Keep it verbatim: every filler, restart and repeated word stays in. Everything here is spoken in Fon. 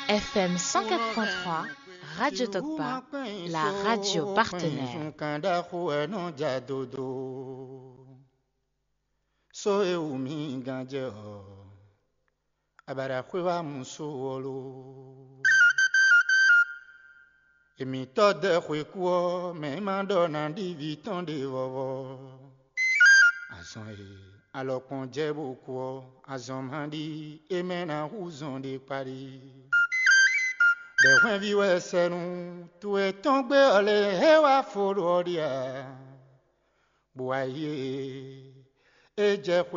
F M cent quatre point trois, Radio Tokpa, la radio partenaire. Kan ɖaxó ɛ nɔ ja dodo. So e wú mì gán jɛ ɔ́, abaɖaxwé wá mú so ɔ́ lo. Èmǐtɔ́ dɛ xwekú ɔ́, mɛ e ma ɖɔ ná ɖi vǐ tɔn ɖe vɔvɔ. Azɔn e alɔkpɔn jɛ bó kú ɔ́, azɔn ma ɖi é mɛ ná hú zɔn ɖe kpaɖi. Bɛ̌ hwɛ́nví wɛ sɛ́nu towe tɔn gbé ɔ́ lě é wá fo ɖo ɔ́ ɖi ǎ. Bó wá yi e é jɛ xwe